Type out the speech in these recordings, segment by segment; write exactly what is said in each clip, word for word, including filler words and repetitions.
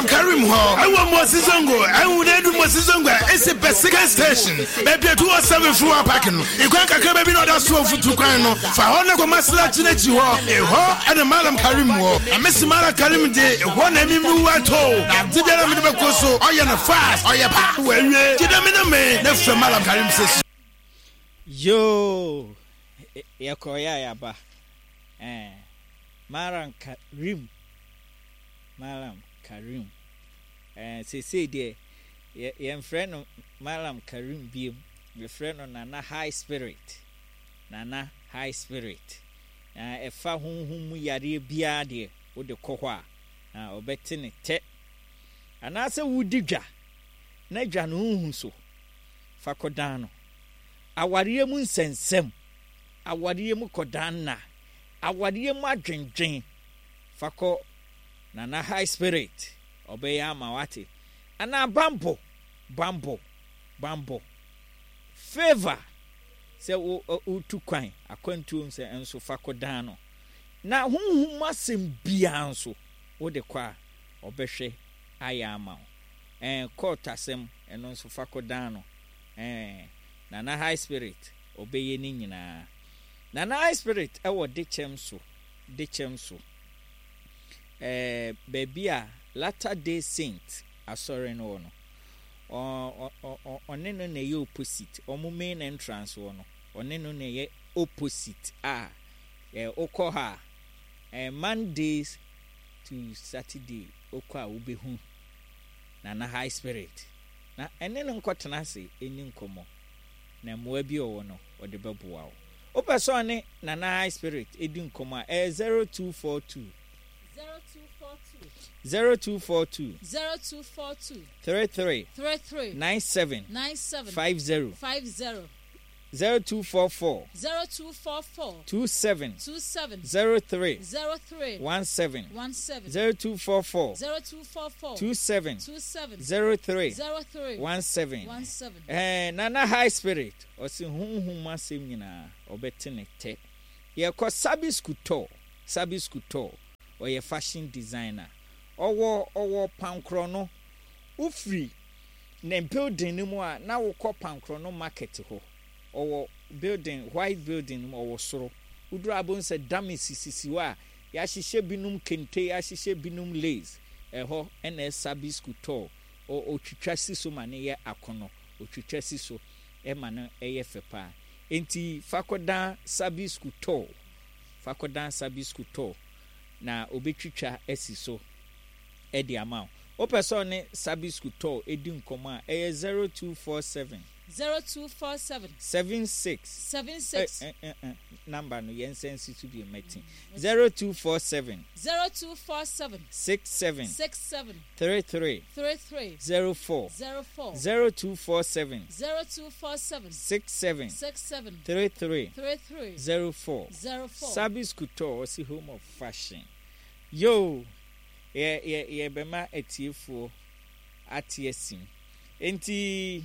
Malam Karim hɔ ɛwɔ Mosi Zongo. Ɛhu na edu Mosi Zongo a, esi pɛ second station baabi a two oh seven fuel park no, ekwan kakra baabi na ɔda so ofutu kwan no fa hɔ ne kɔ Masalachi n'akyi hɔ. Ehɔ ɛna Malam Karim wɔ. Na mesi Malam Karim de, ehɔ na emi mi wa to na ade biara mi de bɛkɔ so, ɔyɛ no fast, ɔyɛ pa wɔ awie gyina mi na mi ne fɛ Malam Karim sɛ Yoo, yɛkɔɔyɛ a yɛaba. Eh, Malam Karim, Malam Karim. Eh, seesei deɛ yɛ yɛmfrɛ no Malam Karim biem, yɛfrɛ no Nana High Spirit, Nana High Spirit. Na ɛfa honhom mu yareɛ biara deɛ, wode kɔ hɔ a, na ɔbɛte ne tɛ. Anaasɛ wodi dwa na dwa no nhu so, fa kɔdan no. Awareɛ mu nsɛnsɛm, awareɛ mu kɔdan nna, awareɛ mu adwendwen, fa kɔ Nana High Spirit, ɔbɛyɛ ama wate. Anaa bambɔ, bambɔ, bambɔ, favour, sɛ wo wotu kwan akwantuo sɛ nso, fa kɔdan no. Na honhom mu asɛm biara nso, wode kɔ a, ɔbɛhwɛ ayɛ ama wo. Ɛɛ court asɛm, ɛno nso fa kɔdan no. Ɛɛ Nana High Spirit ɔbɛyɛ ne nyinaa. Nana High Spirit ɛwɔ Dekyɛm so, Dekyɛm so, ɛɛ baabi a Latter Day Saint asɔre no wɔ no, ɔne no na ɛyɛ opposite. Ɔmo main entrance wɔ no, ɔne no na ɛyɛ opposite a ɛɛ wokɔ ha a, ɛɛ Mondays to Saturday, wokɔ a, wobɛhu Nana High Spirit na ɛne no nkɔtena ase ɛni nkɔmmɔ, na mmoa bi ɔwɔ no, ɔde bɛboa wo. Wopɛ sɛ ɔne Nana High Spirit ɛdi nkɔmmɔ a, ɛyɛ zero two four two zero two four two zero two four two zero two four two three three three three nine seven nine seven five zero five zero zero two four four zero two four four two seven two seven zero three zero three one seven one seven zero two four four zero two four four two seven two seven zero three zero three one seven. one seven. ɛɛ Nana High Spirit ɔsi honhom asɛm nyinaa, ɔbɛte ne tɛ. Yɛkɔ Sabi Skutor. Sabi Skutor ɔyɛ fashion designer. ɔwɔ ɔwɔ Pankorɔ no. Wofiri ne building no mu a, na wokɔ Pankorɔ no market hɔ, ɔwɔ building, white building no mu, ɔwɔ soro. Woduru abo sɛ dame sisisi hɔ a yɛahyehyɛ binom kente, yɛahyehyɛ binom lace. Ɛhɔ ɛna Sabi Skutor. Ɔtwitwa si so ma ne yɛ akɔnɔ, ɔtwitwa si so ɛma no ɛyɛ fɛ paa. Nti fakɔdan Sabi Skutor, fakɔdan Sabi Skutor na obɛtwitwa asi so ɛde ama wo. Wopɛ sɛ ɔne Sabi Skutor ɛdi nkɔmmɔ a, ɛyɛ zero two four seven zero two four seven seven six seven six eh, eh, eh, number no, yɛn nsa nsi so bi mɛti. zero two four seven zero two four seven six seven six seven three three three three zero four zero four zero two four seven zero two four seven six seven six seven three three three three zero four. zero four. Sabi Skutor ɔsi home of fashion. Yo, yɛ yɛ yɛbɛma atiefoɔ ate asim. Nti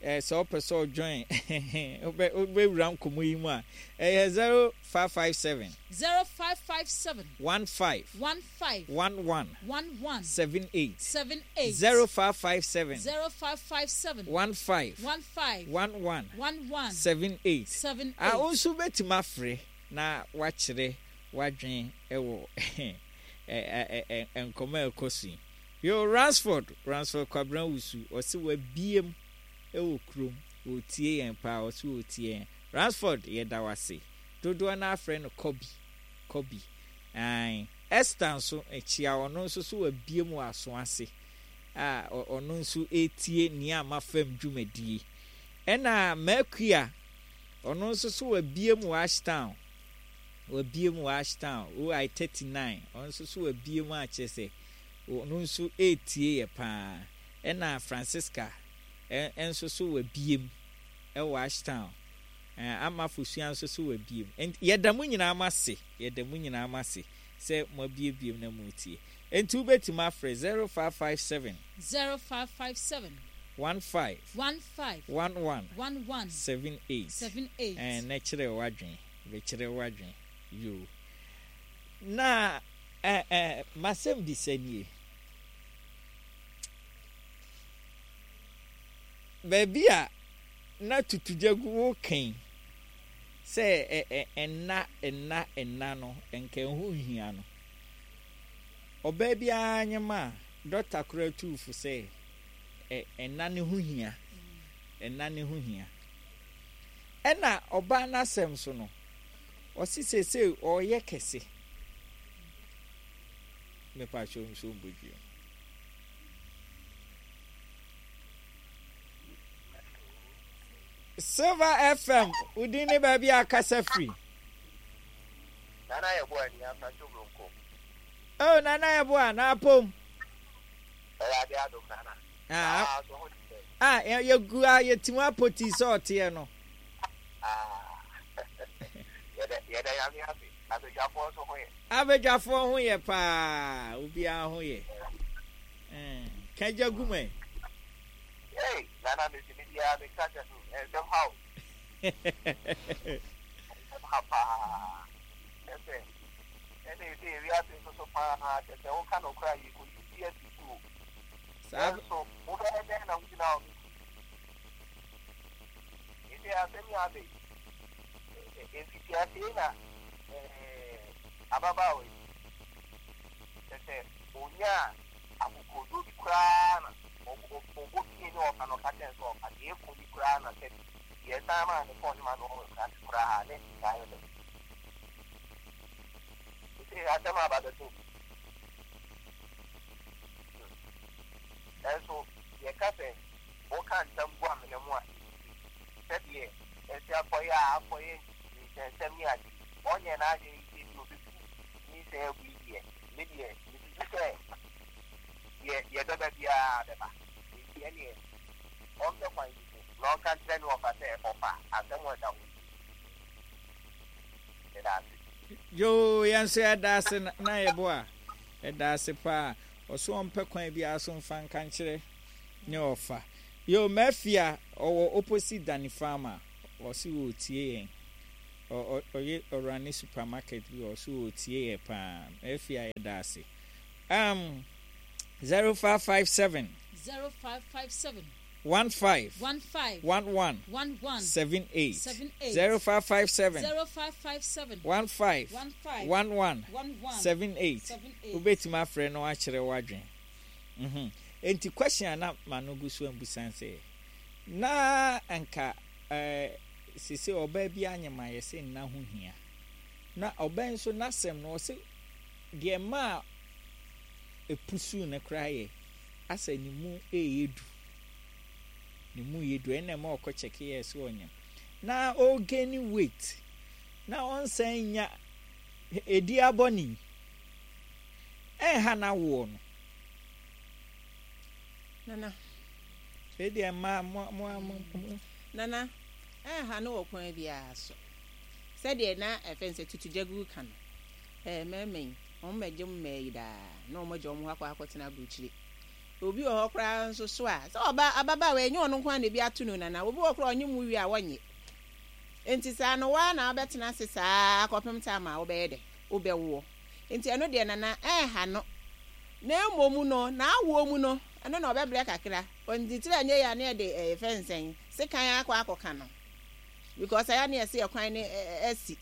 ɛɛ sɛ ɔpɛ sɛ ɔjoin, wobɛ wobɛwura nkɔmɔ yi mu a, ɛyɛ zero five five seven zero five five seven one five one five one one one one seven eight seven eight zero five five seven zero five five seven one five one five one one one one seven eight. seven eight. A wo nso bɛtumi afrɛ na wakyerɛ wadwen ɛwɔ nkɔmɔ a ɛkɔ so yi. Yo, Ransford, Ransford Kwabena Wusu ɔsi wabiem ɛwɔ kurom, wɔtie yɛn paa. Ɔsi wɔtie yɛn. Ransford, yɛda wase. Dodoɔ no afrɛ no Kɔbi, Kɔbi. Ae, Esther nso akyia. Ɔno nso so wabiem wɔ aso ase a ɔno nso etie nea ama fam dwumadie. Ɛna Makua, ɔno nso so wabiem wɔ Ashtown, wabiem wɔ Ashtown oi thirty nine. Ɔno nso so wabiem a kyerɛ sɛ ɔno nso etie yɛ paa. Ɛna Francisca nso so wabiem ɛwɔ Ashtown. Ɛɛ ama Fosua nso so wabiem. Nti yɛda mu nyinaa mo ase, yɛda mu nyinaa mo ase sɛ mo abiebiem na mo tie. Nti wobɛtumi afrɛ zero five five seven zero five five seven one five one five one one one one seven eight seven eight. Ɛɛ na kyerɛ wadwen, bɛkyerɛ wadwen. Yoo, na ɛɛ ɛɛ masɛm bisa nie. Baabi a na tutugya gu wo kan sɛ ɛnna ɛnna ɛnna no nka ɛho nhia no. Ɔbaa biara nyem a dɔkta koraa tuufo sɛ ɛnna ne ho hia. Ɛnna ne ho hia. Ɛna ɔbaa n'asɛm so no, ɔsi seesei ɔreyɛ kɛse. Mepa kyɛw nso mbɔdua. Silver F M, wodin ne baabi a akasa firi. Nana Yeboah ni Asancho Bronco. Oh, Nana Yeboah, na apom. Ɛyɛ ade adom Nana. Ah, ah, yɛgu a yɛtimu apoti sɛ ɔteɛ no. Ah, yɛda Nyame ase. Abadwafoɔ nso ho yɛ. Abadwafoɔ ho yɛ paa, obiara ho yɛ. Kagya gu mɛ. Hey, Nana mesi me biara meka kyɛ nsɛm ha o. Nsɛm ha paa. Ɛsɛ ɛna ɛsɛ ewiase nso so paa kyɛ sɛ woka no koraa yɛ kɔyi bi asi so o. Nanso wobɛyɛ dɛn na wogyina hɔ ɛsɛ asɛm yi abe mfitiaseɛ na ababaawa yi kyɛ sɛ onyaa akokoɔduro bi koraa na ɔbɔ pie ne ɔfa no ɔka kyɛn sɛ ɔfa deɛ ɛkɔ yi koraa na sɛ yɛsan maa ne fɔn ma no ɔwɔ krate koraa ne saa yɛ dɛ ɛsɛ asɛm aba bɛto nanso yɛka sɛ woka ntam gu amena mu a sɛdeɛ ɛsɛ akɔyɛ a akɔyɛ nsɛnsɛm ne ade ɔnyɛ n'adwene sɛ bi obɛbu nyinsɛn agu yi deɛ me deɛ mesusu sɛ yɛ yɛbɛba biara bɛba nti ɛneɛ ɔmpɛ kwan bi so na ɔnka nkyerɛ ne ɔfa sɛ ɔfa asɛm ɛda hɔ ɛda ase. Yo, yɛn nso yɛda ase na Yeboah ɛda ase paa. Ɔso ɔmpɛ kwan biara so mfa nka nkyerɛ ne ɔfa. Yo, Mafia ɔwɔ opposite Danny Farmer. Ɔse ɔtie yɛn. Ɔyɛ ɔrane supermarket bi ɔso ɔtie yɛ paa. Mafia yɛda ase. Um, zero five five seven zero five five seven one five one five one one one one seven eight seven eight zero five five seven zero five five seven one five one five one one one one seven eight. seven eight. Wobɛtumi afrɛ no akyerɛ w'adwen. Mhm. Enti question a na ma no gu so ambusan sɛ na anka eh, sese ɔbaa bi anyema yɛ sɛ nna ho hia. Na ɔbaa nso n'asɛm no ɔse deɛ ma epusu ne koraa yɛ asɛ ne mu ɛyɛ du. Ne mu yɛ du ɛna ma ɔkɔ kyɛke yɛ sɛ ɔnyam. Na ɔgain weight. Na ɔnsan nya edi abɔne. Ɛnha na woɔ no. Nana. Edi ɛma mo mo mo. Nana, ɛnha no wɔ kwan biara so. Sɛdeɛ na ɛfɛn sɛ tutugya gu ka no. Ɛɛ mɛmɛ yi, wɔn mɛgye mmaa yi daa na wɔn agya wɔn ho akɔ akɔtena aburokyire. Obi wɔ hɔ koraa nso so a sɛ ɔba ababaawa ɛnyɛ ɔno nko ara na ebi ato no nana. Obi wɔ koraa ɔnye mu wie a wɔnyɛ. Nti saa no waa na wabɛtena ase saa akɔpem time a wobɛyɛ dɛ wobɛwoɔ. Nti ɛno deɛ nana ɛnha no. Na mmom no na awoɔ mu no ɛno na ɔbɛbrɛ kakra. Ɔntitiri anyɛ yɛ a ne yɛde ɛyɛ fɛnsɛn sekan akɔ akɔka no. Because ɛyɛ ne yɛsɛ yɛ kwan ne ɛsi.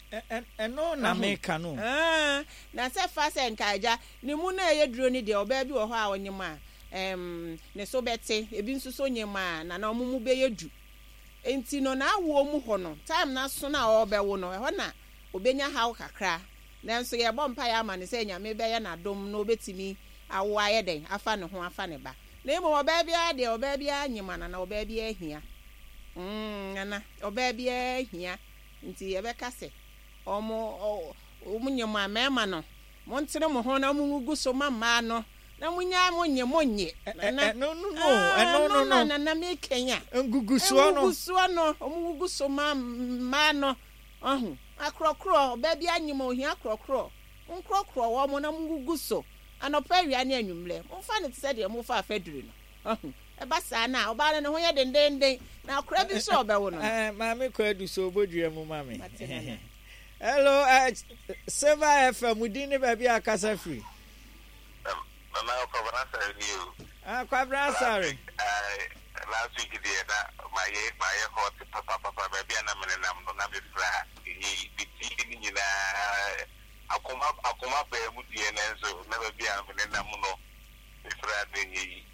Ɛno na meka no. Na sɛ fa sɛ nka agya ne mu na ɛyɛ duro ne deɛ ɔbaa bi wɔ hɔ a ɔnyem a ɛm ne so bɛte ebi nso so nyem a na na ɔmo mu bɛyɛ du. Nti no na awoɔ mu hɔ no time na so na ɔbɛwo no ɛhɔ na obenya haw kakra. Nanso yɛbɔ mpaeɛ ama ne sɛ Nyame bɛyɛ n'adom na obetumi awo ayɛ dɛn afa ne ho afa ne ba. Na mmom ɔbaa biara deɛ ɔbaa biara nyem ana na ɔbaa biara hia. Mm, nana ɔbaa biara hia. Nti yɛbɛka sɛ ɔmo ɔmo nyem a mmarima no montene mo ho na mo ngugu so ma mmaa no na monya mo nye mo nye. Nana no no no ɛno no no nana mekenya. Ngugusoɔ no. Ngugusoɔ no ɔmo ngugu so ma mmaa no. Ɔho akorɔkorɔ ɔbaa bi anyem ohia akorɔkorɔ. Nkorɔkorɔ wɔ mo na mo ngugu so. Anɔpa awia ne anwummerɛ. Momfa ne te sɛ deɛ mofa afadiri no. Ɔho ɛba saa na ɔbaa no ne ho yɛ dendenden na akora bi nso ɔbɛwo no. Eh, maame kɔ adu so obodua mu ma me. Hello, uh, Silver F M, din ne baabi a kasa firi. Nana Kwabena Asare ni o. Ah, Kwabena Asare. Last week deɛ na Mayɛ mayɛ hot papapapa. Baabi a na menenam no na mefra ɛnyɛ metie ne nyinaa. Akoma akoma baa mu deɛ, nanso na baabi a menenam no mefra no ɛnyɛ yi.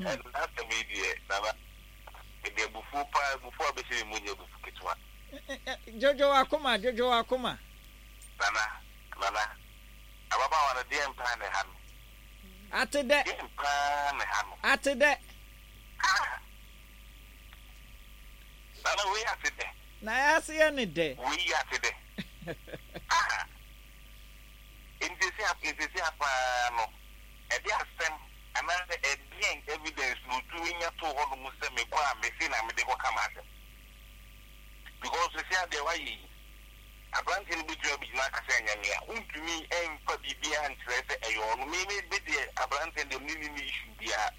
Ɛna asɛm yi deɛ, Nana, mede abufuo paa, abufuo a bɛhyɛ me mu nyɛ abufu ketewa. Dwodwo wakoma, dwodwo wakoma. Nana, Nana, ababaawa no deɛ mpaa ne ha no. Ate dɛ. Deɛ mpaa ne ha no. Ate dɛ. Ah! Nana, wei ate dɛ. Na yɛase yɛ ne dɛ. Wei ate dɛ. Ah! Nsesi nsesi apaa no, ɛde asɛm anaasɛ ɛdeɛn evidence na otumi nya too hɔ nom sɛ mekɔ a mese na mede kɔka m'asɛm? Because sisi adeɛ wayɛ yi, aberanteɛ no bɛtumi abɛgyina aka sɛ ɛnyɛ me a, wontumi ɛmfa biribiara nkyerɛ sɛ ɛyɛ ɔno. Me me me deɛ, aberanteɛ deɛ me ne ne issue biara.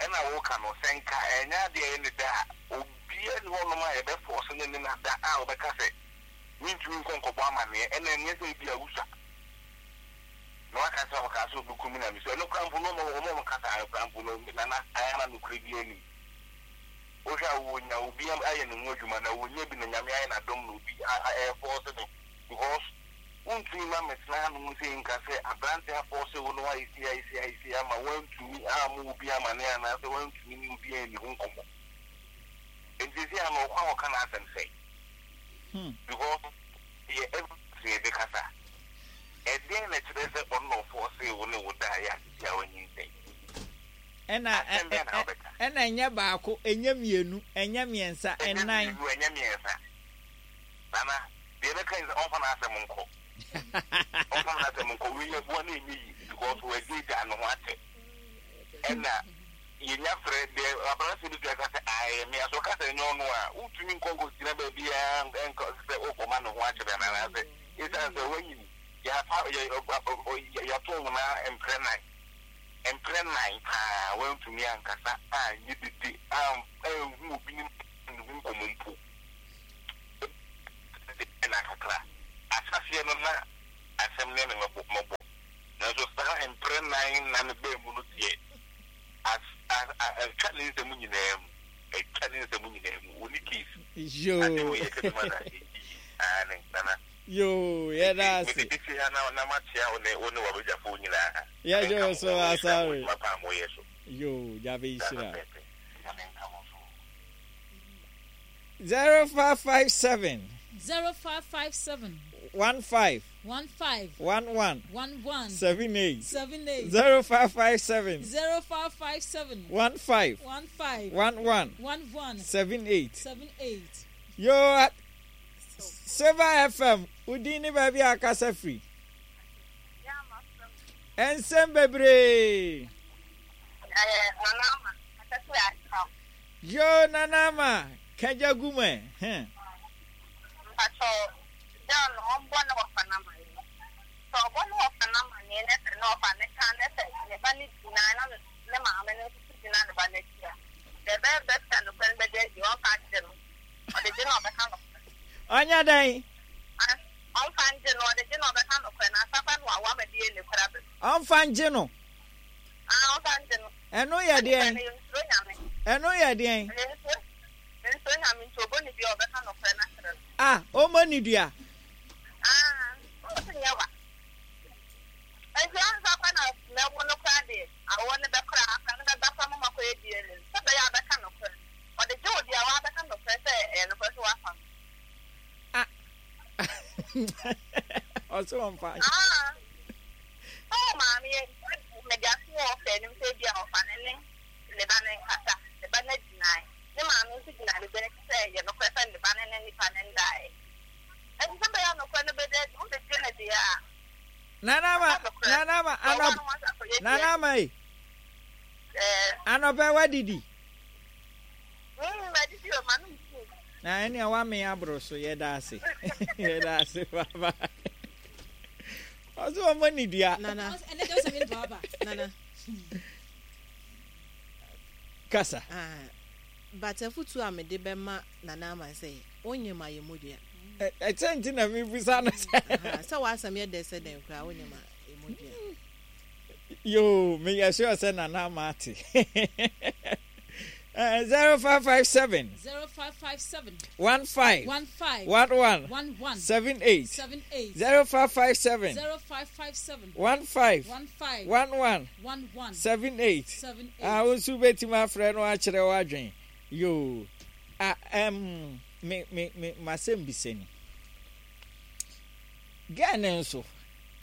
Ɛna woka no sɛ nka ɛnyɛ adeɛ ɛyɛ ne da a, obiara ni hɔnom a yɛbɛfɔɔse ne ne nada a wɔbɛka sɛ mentumi nkɔ nkɔbɔ amanneɛ. Ɛna ɛnyɛ sɛ ebi a wusua na waka sɛ ɔka sɛ ɔbɛku me na mesɛ ɛno kora mpo no, ɔma ɔma ɔmo kasa no kora mpo no, Nana, ayɛ na nokorɛ bi anim. Wohwɛ a wɔnya obi ayɛ ne ho adwuma na wɔnya bi na Nyame ayɛ n'adom na obi ɛfɔɔse no, because wontumi ma metena hanom sɛ nka sɛ aberante afɔɔse wo no wayɛ sei, ayɛ sei, ayɛ sei ama woantumi amma obi amane anaasɛ woantumi ne obi anni ho nkɔmmɔ. Nti sɛ ano ɔkɔ a wɔka n'asɛm sɛ because yɛ evidence yɛde kasa, ɛdeɛn na kyerɛ sɛ ɔno na ɔfɔɔse wo ne wo da yɛ asisi a wanyinsɛn? Ɛna Asɛm bɛn na wobɛka? Ɛna ɛnyɛ baako, ɛnyɛ mmienu, ɛnyɛ mmiɛnsa, ɛnyɛ ɛnan. Mmienu, ɛnyɛ mmiɛnsa. Nana, deɛ ɛbɛka yi sɛ ɔmfa n'asɛm nkɔ, ɔmfa n'asɛm nkɔ. Wei yɛ boa na ɛnyɛ yi because wɔagyagya ne ho akyɛ. Ɛna yɛnya frɛ deɛ aberanteɛ bi tua ka sɛ ayɛ me aso ka sɛ ɛnyɛ ɔno a, wontumi nkɔ nkɔgyina baabiaa nkɔ sɛ wokɔma ne ho akyerɛ no anaasɛ ɛsiane sɛ woanyini yɛafa yɛato wo na mprɛ nan, mprɛ nan paa, woantumi ankasa anyɛ dede anhu obi ne ne ho nkɔmmɔ mpo na kakra asaseɛ no na asɛm ne ne mɛbɔ mɛbɔ, nanso saa mprɛ nan na ne baa mu no deɛ, atwa ne nsɛm nyinaa mu, atwa ne nsɛm nyinaa mu. Wɔni case ade Yoo. Wɔ yɛ kɛdɛm na ɛyi ane, Nana. Yoo, yɛda ase. Mede bɛsi ha na na makyea wo ne wo ne wabadwafoɔ nyinaa. Yɛgye wo so, asare. Mapa a moyɛ so. Yoo, gyabe nhyira. Pɛpɛ, Nyame nka mo so. Zero five five seven. Zero five five seven. one five. One five. one one. One one. seven eight. Seven eight. zero five five seven. Zero five five seven. one five. One five. one one. One one. seven eight. Seven eight. Yoo, Silver F M, wodin ne baabi a akasa firi? Ɛnsɛm bebree. Yoo, Nanama kagya gu mu ɛ hɛn. Mpatɔ John, ɔmbɔ ne wɔfa n'amanneɛ. Sɛ ɔbɔ ne wɔfa n'amanneɛ na sɛ ne wɔfa ne ka na sɛ ne ba no gyina na ne maame no nso so gyina ne ba n'akyi a, deɛ ɛbɛyɛ bɛsa nokorɛ no bɛda adi. Ɔmfa ngye no, ɔde gye no, ɔbɛka nokorɛ. Ɔnyɛ dɛn? Ah, ɔmfa ngye no, ɔde gye no, ɔbɛka nokorɛ na asafa no awo ama bi yɛ ne kora bɛ. Ɔmfa ngye no. Ah, ɔmfa ngye no. Ɛno yɛ deɛn? Ɛno yɛ nsuro Nyame. Ɛno yɛ deɛn? Ɛno nsuro nsuro Nyame, nti ɔbɔ ne dua, ɔbɛka nokorɛ no akyerɛ no. Ah, ɔmmɔ ne dua. Ah, ɔmo nyɛ wa. Nti ɔnsa kɔ na mɛwo no koraa deɛ, awo no bɛkora akora no bɛba kora mama kɔyɛ D N A sɛ bɛyɛ a bɛka nokorɛ. Ɔde gye wo deɛ a wabɛka nokorɛ sɛ ɛyɛ nokorɛ sɛ wafa no. Ah, ɔsɛ ɔmfa. Ah, ɔwɔ maame yɛ mɛde ato wɔ ɔfɛ anim sɛ ebi a ɔfa ne ne ne ba ne nkasa, ne ba no agyinae, ne maame nso gyina ne ba akyi sɛ ɛyɛ nokorɛ sɛ ne ba ne ne nipa ne ndaeɛ. Nti sɛ bɛyɛ a nokorɛ no bɛda adi, wode gye ne deɛ a Nanama, Nanama, anɔp Nanama yi, anɔpɛ wadidi? Na ɛnea wame aboro so. Yɛda ase, yɛda ase baba. Ɔsɛ ɔmmɔ ne dua. Nana. Ɛnɛ deɛ ɔsɛ mi ba. Nana. Kasa. Ah, but afutuo a mede bɛma Nana ama sɛ wonyɛ ma yɛ modua. Ɛkyɛ nti na mebusa no sɛ Aha, sɛ w'asɛm yɛ dɛ sɛ dɛn koraa, wonyɛ ma yɛ modua. Yoo, meyɛ sure sɛ Nana ama ate. Zero five five seven. Zero five five seven. One five. One five. One one. One one. Seven eight. Seven eight. Zero five five seven. Zero five five seven. One five. One five. One one. One one. Seven eight. Seven eight. Ah, nso bɛtumi afrɛ no akyerɛ w'adwen yoo. Ah, um, me me me masɛm bisa ni. Girl ne nso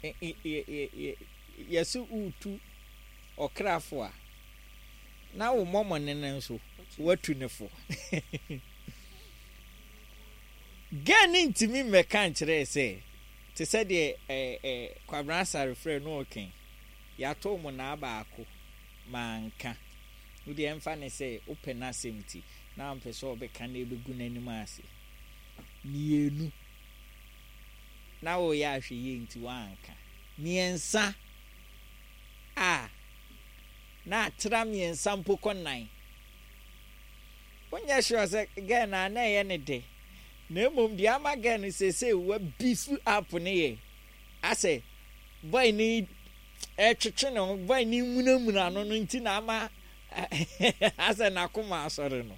yɛsɛ wotu ɔkrafo a na wo mmɔmɔne no nso watu ne fo. Girl ne ntumi mmɛka nkyerɛ sɛ te sɛ deɛ ɛɛ ɛɛ Kwabena Asare frɛ no ɔkɛn yɛato mo naa baako manka wodeɛ ɛmfa ne sɛ wopɛ n'asɛm ti na mpɛ sɛ ɔbɛka na ɛbɛgu n'anim ase mmienu na wɔyɛ ahwɛ yie nti wanka mmiɛnsa a na atra mmiɛnsa mpo kɔ nan wonyɛ sure sɛ girl na na ɛyɛ ne de na mmom deɛ ama girl no seesei wa beef up ne yɛ asɛ boy ne ɛtwetwe ne ho, boy ne munamuna no no nti na ama asɛ n'akoma asɔre no.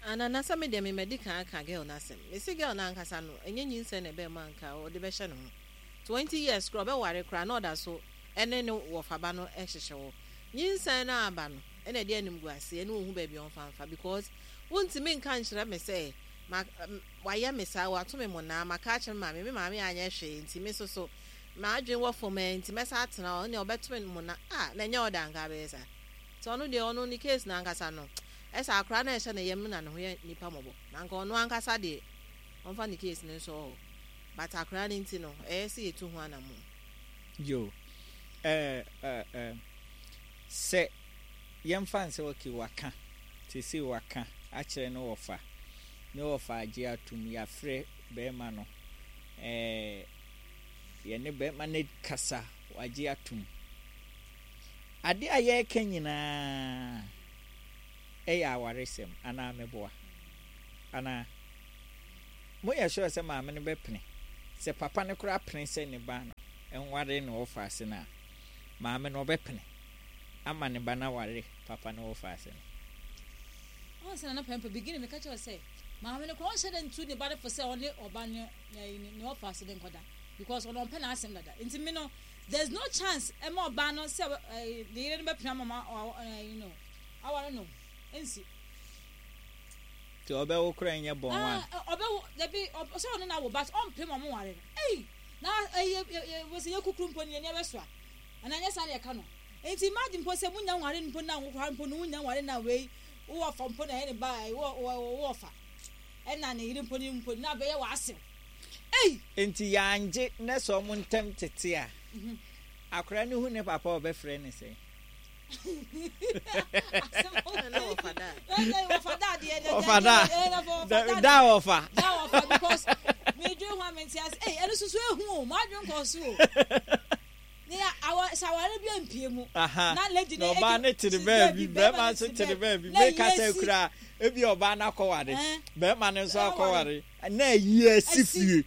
Anana sɛ me deɛ me madi kan aka girl n'asɛm. Mesi girl n'ankasa no, ɛnyɛ nyinsɛn na ɛbɛn mu anka ɔde bɛhyɛ ne ho. Twenty years kora ɔbɛware kora na ɔda so ɛne ne wɔfaba no ɛhyehyɛ hɔ. Nyinsɛn no aba no, ɛna ɛde anim gu ase ɛne ohun baabi ɔmfa mfa because wontumi nka nkyerɛ me sɛ ma wayɛ me saa, wato me mo naa, maka akyerɛ me maame, me maame anyɛ hwee nti me soso m'adwene wɔ fam ɛ nti mɛsa atena hɔ ɛne ɔbɛto me mo na a na ɛnyɛ ɔda nka bɛyɛ saa. Nti ɔno deɛ ɔno ne case n'ankasa no ɛsɛ akora na ɛhyɛ ne yam na ne ho yɛ nipa mmɔbɔ na nka ɔno ankasa deɛ ɔmfa ne case ne nso hɔ, but akora no nti no ɛyɛ sɛ yɛtu ho anamo. Yo, ɛɛ ɛɛ ɛɛ sɛ yɛmfa nsɛ okay waka te sɛ waka akyerɛ ne wɔfa ne wɔfa agye atum, yɛafrɛ bɛrima no, ɛɛ yɛne bɛrima no kasa, wagye atum. Ade a yɛreka nyinaa ɛyɛ awaresɛm anaa meboa anaa moyɛ sure sɛ maame no bɛpene sɛ papa no koraa pene sɛ ne ba no nware ne wɔfa ase no a, maame no ɔbɛpene ama ne ba no aware papa no wɔfa ase no? Ɔn sɛ Nana Pɛmpɛ beginning meka kyerɛ sɛ maame no koraa ɔnhyɛ dɛ ntu ne ba no fo sɛ ɔne ɔba ne ne ɔfa ase ne nkɔda because ɔno ɔmpɛ n'asɛm dada. Nti mi no there is no chance ɛma ɔbaa no sɛ ɛɛ ne yere no bɛpene ama ma ɔ you know aware no nsi. Nti ɔbɛwo koraa nyɛ bɔn wa? Ɔbɛwo dabi, ɔsɛ ɔno na wo but ɔmpɛ ma ɔmo ware no. Ɛyi na ɛyɛ ɛ wɔsɛ yɛ kukuru mpo ne yɛ nneɛma so a ana nyɛ saa na yɛka no. Nti imagine mpo sɛ munya nware mpo na nwokora mpo no munya nware na wei wowɔ fa mpo na ɛyɛ ne ba wɔ wɔ wɔ fa ɛna ne yere mpo ne mpo na bɛyɛ wɔ asew. Ɛyi. Nti yɛangye ne sɛ ɔmo ntɛm tete a, akora ne hu ne papa ɔbɛfrɛ ne sɛn? Ɔfa da ɔfa da ɔfa because medwe ho a mente ase. Ɛyi ɛno soso ehu o, maa dwen kɔ so o ne awa sɛ aware bi mpie mu na lady ne ɔbaa ne tere baabi, bɛrima nso tere baabi, meka sɛ kura ebi ɔbaa no akɔware, bɛrima no nso akɔware na ayi asi fie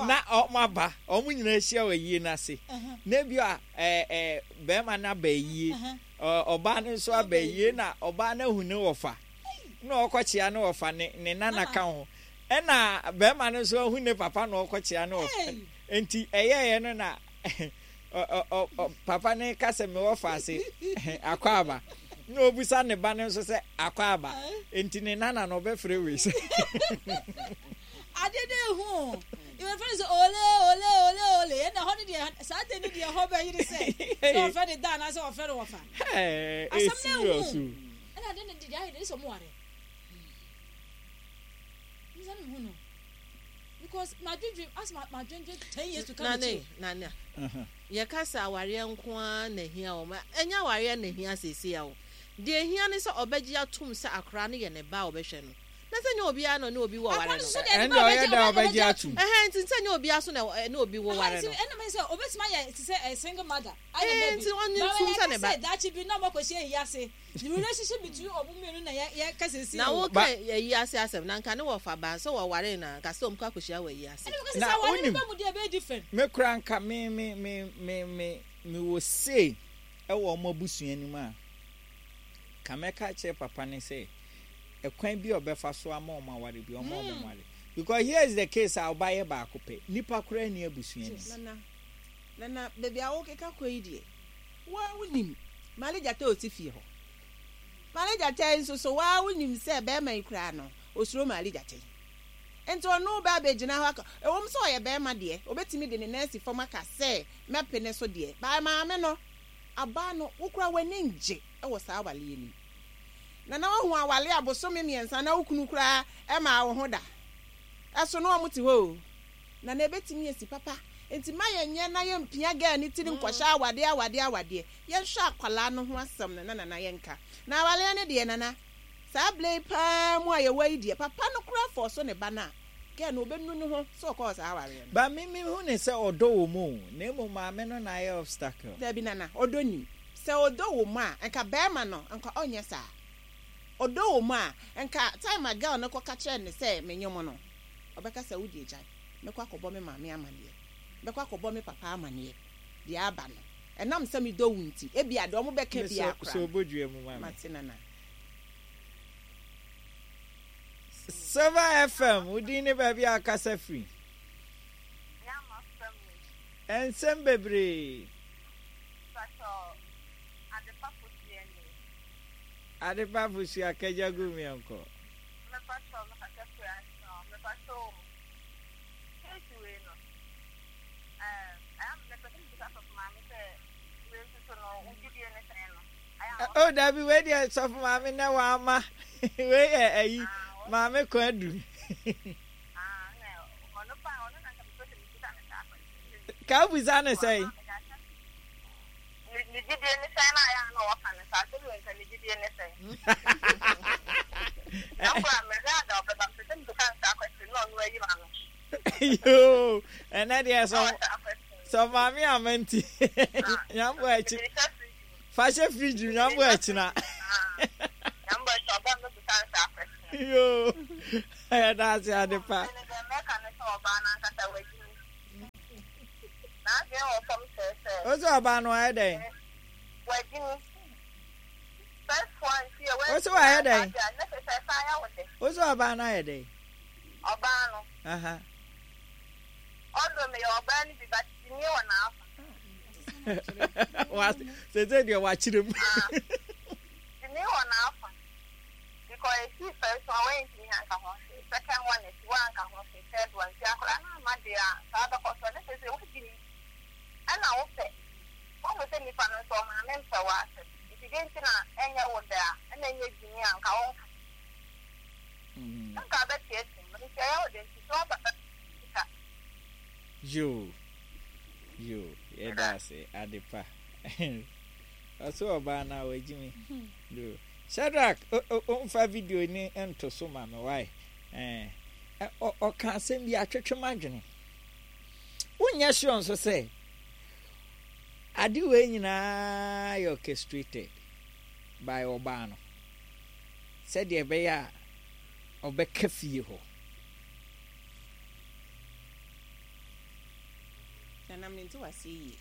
na ɔmo aba, ɔmo nyinaa ahyia wɔ ayie n'ase na ebi a ɛɛ ɛɛ bɛrima no aba ayie, ɔbaa no nso aba ayie na ɔbaa no ahu ne wɔfa na ɔkɔkyea ne wɔfa ne ne nana ka ho, ɛna bɛrima no nso ahu ne papa na ɔkɔkyea ne wɔfa. Nti ɛyɛɛyɛ no na papa ne ka sɛ mewɔ fa ase akɔ aba na obusa ne ba no nso sɛ akɔ aba, nti ne nana na ɔbɛfrɛ wei sɛ ade de ehu ìwé fɛn sɛ ole ole ole ole ɛna hɔ ne deɛ saa de ne deɛ hɔ bɛ yiri sɛ sɛ ɔfɛ ne da anaasɛ ɔfɛ ne wɔfa asɛm na ehu ɛna ade ne deɛ ayɛ de sɛ ɔmo ware nsa ne hu no because ma dwendwen as ma ma dwendwen ten years to come. Nane nane yɛka sɛ awareɛ nko ara na ehia wɔn, ɛnyɛ awareɛ na ehia seesie a o deɛ ehia ne sɛ ɔbɛgye atum sɛ akora no yɛ ne ba a ɔbɛhwɛ no na sɛ nyɛ obiara na ɔne obi wɔ ware no. Ɛnna ɔyɛ dɛ ɔbɛgye atum. Ɛhɛn, nti sɛ nyɛ obiara so na ɛne obi wɔ ware no. Ɛnna mɛ sɛ obetumi ayɛ te sɛ single mother. Ɛɛ, nti ɔnye ntum sɛ ne ba. Sɛ daakye bi na ɔmo akɔhyia yi ase, the relationship between ɔmo mmienu na yɛ yɛ kasa si. Na wo ka ayi ase asɛm na nka ne wɔfa ba sɛ wɔware na nka sɛ ɔmo kɔ akɔhyia wɔ ayi ase. Na na wonim wonim mu deɛ ɛbɛyɛ different. Me kura nka me me me me me me wɔ sei Ɛwɔ ɔmo abusua no mu a, ka mɛka kyerɛ papa ne sɛ ɛkwan bi a ɔbɛfa so ama ɔmo aware bi, ɔmo ɔmo nware, because here is the case a ɔba yɛ baako pɛ, nipa koraa ni abusua no mu. Nana, Nana, baabi a wokeka kɔ yi deɛ, waa wonim Maale Gyata a ɔte fie hɔ. Maale Gyata yi nso so, waa wonim sɛ bɛrima yi koraa no, osuro Maale Gyata yi. Nti ɔno ba abɛgyina hɔ aka, ɛwɔm sɛ ɔyɛ bɛrima deɛ, obɛtumi de ne nan asi fam aka sɛ mɛpe ne so deɛ, baa maame no, abaa no, wokura w'ani ngye ɛwɔ saa awaleɛ nim. Nana, wahu awale abosome mmiɛnsa na wo kunu koraa ɛma wo ho da. Ɛso no ɔmo te hɔ o. Nana, ebɛtumi esi papa. Nti ma yɛnyɛ na yɛmpia girl ne tiri nkɔhyɛ awadeɛ awadeɛ awadeɛ. Yɛnhwɛ akwalaa no ho asɛm no na Nana yɛnka. Na awaleɛ no deɛ, Nana, saa abere yi paa mu a yɛwɔ yi deɛ, papa no koraa fɔ so ne ba no a, girl no obɛnu ne ho sɛ ɔkɔɔ saa awareɛ no. Ba me me hu ne sɛ ɔdɔ wɔ mu o, na emu maame no na ayɛ obstacle. Dabi Nana, ɔdɔ nim. Sɛ ɔdɔ wɔ mu a, nka bɛrima no, nka ɔnyɛ saa. Ɔdɔ wɔ mu a, nka time a girl no kɔka kyerɛ ne sɛ menyom no, ɔbɛka sɛ wodi agyae, mɛkɔ akɔbɔ me maame amanneɛ, mɛkɔ akɔbɔ me papa amanneɛ deɛ aba no. Ɛnam sɛ medɔ wo nti, ebia deɛ ɔmo bɛka biara so koraa. Obodua mu ma me. Mate, Nana. Silver F M, wodin ne baabi a akasa firi? Nyama fam ni. Ɛnsɛm bebree. Pastor, Adepa Fosuo ni. Adepa Fosua, kagya gu miɛnkɔ. Mepatɔ mekasa firi ase. Mepatɔ, case wei no, ɛɛ mepɛ sɛ mebisa sɔfo maame sɛ wei nso so no, wo gyidie ne sɛn no? O dabi, wei deɛ sɔfo maame nɛ wama wei yɛ ayi maame kwan adu. Ah, na ɔno pa ɔno na nka mepɛ sɛ mebisa no saa question. Ka wobusa ne sɛn? Ne ne gyidie ne sɛn na ayɛ a na ɔka no saa sɛ wei nka ne gyidie ne sɛn. Na nkora mehwɛ ada ɔbɛba, mepɛ sɛ mebisa no saa question na ɔno ayi ma no. Yoo, ɛnɛ deɛ sɔ Na ɔhyɛ question. Sɔ maame ama nti nyambo akyi Mede hyɛ fridge mu. Fa hyɛ fridge mu, nyambo akyina. Nyambo akyi ɔba mebisa no saa question. Yoo, ɛda ase, Adepa. Ɛne deɛ mɛka ne sɛ ɔbaa n'ankasa wagyi mi. N'adwene wɔ fam kyerɛ sɛ O sɛ ɔbaa no ayɛ dɛn? Wagyi mi. First one ti yɛ O sɛ wayɛ dɛn? Ne sɛ sɛ ɛsan yɛ wo de. O sɛ ɔbaa no ayɛ dɛn? Ɔbaa no. Aha. Ɔdɔ meyɛ ɔbaa no bi, but gyimie wɔ n'afa. Wa sese deɛ wakyerɛ mu. Gyimie wɔ n'afa. Because esi first one wɔntumi anka ho hwee. Second one esi wɔanka ho hwee. Third one ti akwadaa no ama deɛ a saa bɛkɔ so ne sɛ sɛ wogyi mi. Ɛna wopɛ. Wɔn sɛ nipa no nso ɔmaame mpɛ wɔ asɛm. Nti de nti na ɛnyɛ wo da a ɛna ɛnyɛ gyimie a nka wɔnka. Nka bɛteɛ mu nti ɛyɛ wo de nti so ɔba sika. Yoo yoo, yɛda ase, Adepa. Ɔsɛ ɔbaa no a wagyi mi. Yoo, Shadrach, ɔmfa video ni nto so ma me wae. Ɛɛ ɔka asɛm bi atwetwe m'adwene. Wonyɛ sure nso sɛ ade wei nyinaa yɛ orchestrated by ɔbaa no sɛdeɛ ɛbɛyɛ a ɔbɛka fie hɔ? Nana, mente wase yie.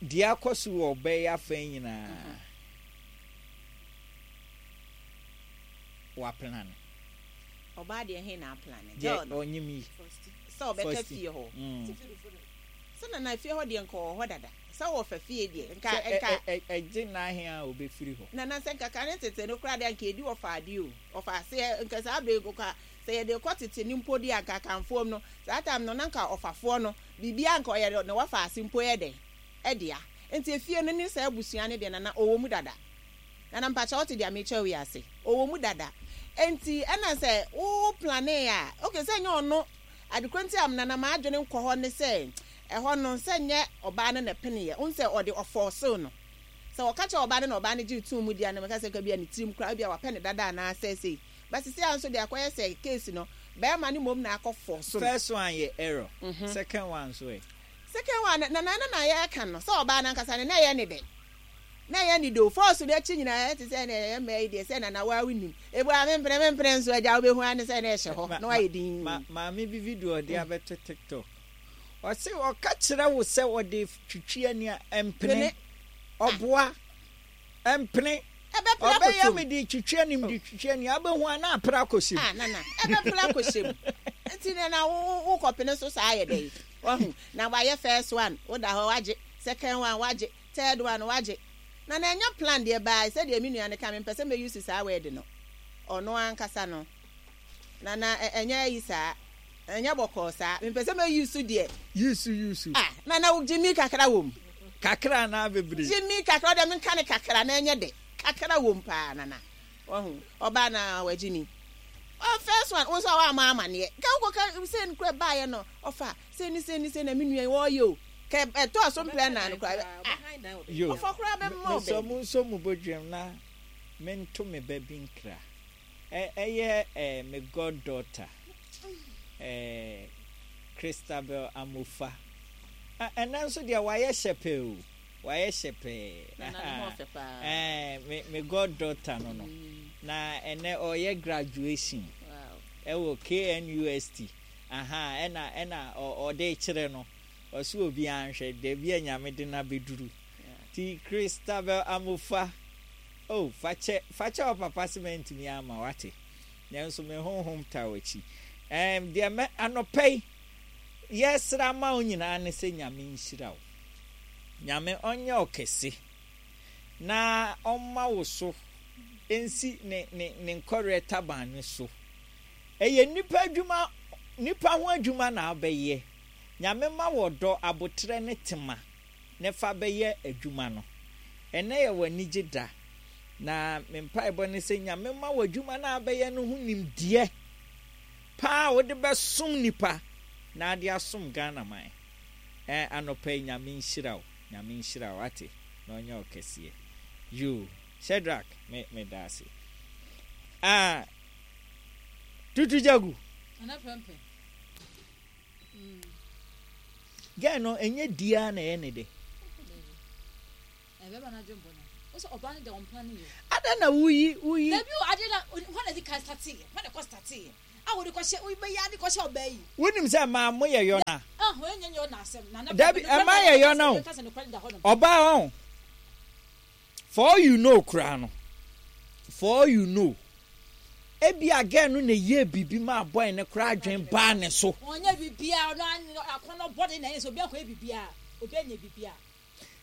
Deɛ akɔ so wɔ ɔbaa yi afa nyinaa, waplan. Ɔbaa deɛ he na aplan? Deɛ girl no ɔnyim yi. Sɛ ɔbɛka First. fie hɔ. Mm. Sɛ Nana, fie hɔ deɛ nka ɔwɔ hɔ dada. Sɛ wɔfa fie deɛ nka Sɛ ɛ- nka ɛ- ɛ- ɛgye n'ahe a obɛfiri hɔ. Nana, sɛ nka kane tete no koraa deɛ, nka ɛdi wɔfa adeɛ o, ɔfa aseɛ. Nka saa bere nka sɛ yɛde kɔ tete ne mpo deɛ a, nka akanfoɔ mu no saa time no na nka ɔfafoɔ no biribia nka ɔyɛ ne wɔfa ase mpo yɛ dɛn ɛdea. Nti efie no ne saa abusua no deɛ, Nana, ɔwɔ mu dada. Nana, mpakyɛ wote deɛ mekyɛ wo yi ase? Ɔwɔ mu dada. Nti ɛna sɛ wo plan a, okay, sɛ nyɛ ɔno adekoro nti a Nana maadwene nkɔ hɔ ne sɛ ɛhɔ no sɛ nyɛ ɔbaa no na ɛpeneɛ wohu sɛ ɔde ɔfɔɔsew no sɛ ɔka kyerɛ ɔbaa no na ɔbaa no gye tum mu di a, na meka sɛ nka bi a ne tirim koraa bi a wapɛ ne dada anaasɛ sei ba sisi a nso de akɔyɛ sɛ case no bɛrima no mmom na akɔ fɔɔso no. First one yɛ error, second one nso ɛ? Second one, na na na na yɛka no sɛ ɔbaa no ankasa no na ɛyɛ ne dɛ, na ɛyɛ ne de o. Fɔɔso no akyi nyinaa ɛte sɛ na ɛyɛ mmaa yi deɛ sɛ Nana waa wonim ebu a mempene mempene nso agya wobɛhu ane sɛ na ɛhyɛ hɔ na wayɛ din. Ma maame bi video ɔde abɛto TikTok. Ɔse ɔka kyerɛ wo sɛ ɔde twitwi ani a, ɛmpene. Ɔboa. Ɛmpene. Ɛbɛpere Ɔbɛyɛ akɔtɔ mu. mede twitwi ani, mede twitwi ani, abɛhu a na apere akɔhyɛ mu. Ah, nana, ɛbɛpere akɔhyɛ mu. Nti na na wo wo kɔpene so saa yɛ dɛ. Wahu. Na wayɛ first one, woda hɔ wagye, second one wagye, third one wagye. Na na ɛnyɛ plan deɛ baa sɛdeɛ me nua no ka, mempɛ sɛ mɛuse saa word no. Ɔno ankasa no. Na na ɛnyɛ ayi saa. Ɛnyɛ bɔkɔɔ saa. Mempɛ sɛ mɛuse deɛ. Use use. Ah, na na wogye mi kakra wɔ mu. Kakra na bebree. Gye mi kakra, ɔdɛ menka ne kakra na ɛnyɛ dɛ. Kakra wɔ mu paa, nana. Wahu. Ɔbaa na wagye mi. Oh, first one, wo nso a woama amanneɛ. Ka wokɔka sɛ no kora baeɛ no, ɔfa sɛ ni sɛ ni sɛ na me nua yi wɔɔyɛ o. Ka ɛtɔɔ so mprɛ nan no koraa. Ah, Yo. ɔfa koraa bɛma wo Mesɔ baabi. mu nso mu bodwam na mento me ba bi nkra. Ɛ ɛyɛ ɛ me goddaughter, ɛ Christabel Amofa. Ah, ɛnɛ nso deɛ wayɛ hyɛ pɛɛ o. Wayɛ hyɛ pɛɛ. Nana ne ho ɔfɛ paa. Ɛɛ me me goddaughter no no. Na ɛnɛ ɔyɛ graduation Wow. ɛwɔ K N U S T. Aha, ɛna ɛna ɔde kyerɛ no. Ɔso obi anhwɛ dabi a Nyame de na bɛduru. Ti Christabel Amofa. Oh, fakyɛ fakyɛ wɔ papa sɛ mantumi ama wate. Nanso me honhom ta w'akyi. Ɛm deɛ mɛ anɔpɛ yi yɛsra ma wo nyinaa ne sɛ Nyame nhyira wo. Nyame ɔnyɛ wo kɛse na ɔmma wo so nsi ne ne ne nkɔrɛ taban no so. Ɛyɛ nipa adwuma, nipa ho adwuma na abɛyɛ. Nyame ma wɔ dɔ, abotrɛ ne tema ne fa bɛyɛ adwuma no. Ɛnɛ yɛ wɔ anigye da na me mpaebɔ ne sɛ Nyame ma wɔ adwuma no abɛyɛ no ho nimdeɛ paa a wode bɛsom nipa na ade asom Ghana man. Ɛ anɔpa yi Nyame nhyira wo, Nyame nhyira wo, ate, na ɔnyɛ wo kɛseɛ. Yo, Shadrach, me me da ase. Ah, Tutu Jagu. Nana Prempeh. Girl no ɛnyɛ dia na ɛyɛ ne de. Ɛbɛma no adwembɔ no. Wo sɛ ɔbaa no deɛ ɔmpla no yɛ. Ada na wuyi wuyi. Dabi o, ade na hɔ na di kan starteeɛ. Hɔ na ɛkɔ starteeɛ. A wɔde kɔhyɛ wobɛyɛ ade kɔhyɛ ɔbaa yi. Wonim sɛ maa mo yɛ yɔna. Ah, wɔn nyɛ nyɛ ɔna asɛm. Nana Dabi, ɛma yɛ yɔna o. Kasa nokorɛ da hɔ nom. Ɔbaa ɔn. For all you know koraa no. For all you know. Ebi a girl no na yie biribi ma boy ne koraa adwen baa ne so. Wɔnyɛ biribiara, ɔno akɔnɔ bɔde na ɛyɛ sɛ obi akɔyɛ biribiara. Obi anyɛ biribiara.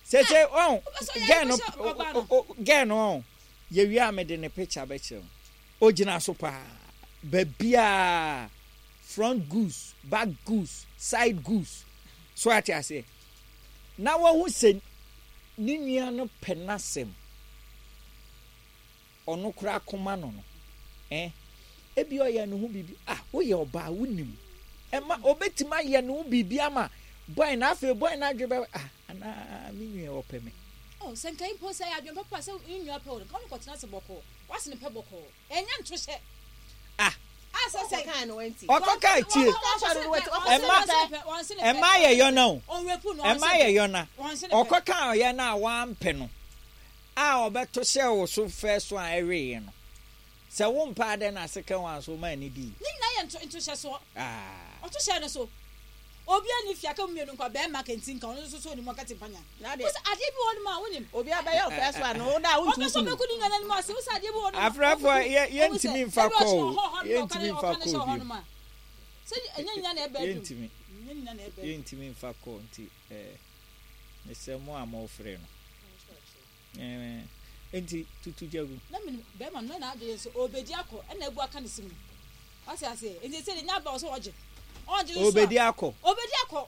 Sese ɔn Wobɛsɔ yɛ girl no kɔhyɛ ɔbaa no. girl no ɔn yɛwie a mede ne picture bɛkyerɛ wo. Ogyina so paa. Baabiaa front goose, back goose, side goose. So ate aseɛ. Na wahu sɛ ne nua no pɛ n'asɛm. Ɔno koraa koma no no. Eh? Ebi ɔyɛ ne ho biribi. Ah, woyɛ ɔbaa, wonim. Ɛma obetumi ayɛ ne ho biribi ama boy na afei boy na adwe bɛ, ah, anaa me nua ɔpɛ me. Oh, sɛ nka mpo sɛ yɛ adwene papa sɛ ne nua pɛ wo no, nka wo ne kɔtena ase bɔkɔɔ. Wase ne pɛ bɔkɔɔ. Ɛnyɛ nto hyɛ. Ah, Ah, sɛ sɛ. Ɔkɔkaa no wanti. Ɔkɔkaa tie. Ɛma ɛma yɛ yɔna o. Ɛma yɛ yɔna. Ɔkɔka ɔyɛ no a wampɛ no a ɔbɛto hyɛ wo so fɛ so a ɛweeɛ no. Sɛ wompɛ adɛn na second one so ma ani di. Ne nyinaa yɛ nto nto hyɛ soɔ. Ah. Ɔto hyɛ no so. Obi ani fi aka mu mmienu nkwa bɛrima kɛnti nka ɔno nso so onim ɔka timpanya. Na deɛ Wosɛ adeɛ bi wɔ hɔ nom a wonim. obi abɛyɛ wo first one no, wo da a Ɔbɛ wontu sɛ kunu. ɔbɛku ne nua n'anim ase. Wosɛ adeɛ bi wɔ hɔ nom a Afrafoɔ yɛ yɛntumi mfa kɔ o. Yɛntumi mfa ɔka ne kɔ hyɛ hɔ bio. nom a. Sɛ ɛnyɛ nyina na ɛbɛ adum. Yɛntumi. Ɛnyɛ nyina na ɛbɛ adum. Yɛntumi mfa kɔ nti ɛɛ mesrɛ mo a mofrɛ no. Ɛɛ nti Tutu Jagu. Na menim bɛrima no na n'adwene nso ɔbɛdi akɔ ɛna ebu aka ne sim no. Wate aseɛ, nti sɛ de nya aba wɔ sɛ ɔgye. Ɔgye nso a Obedi akɔ. Ɔbɛdi akɔ.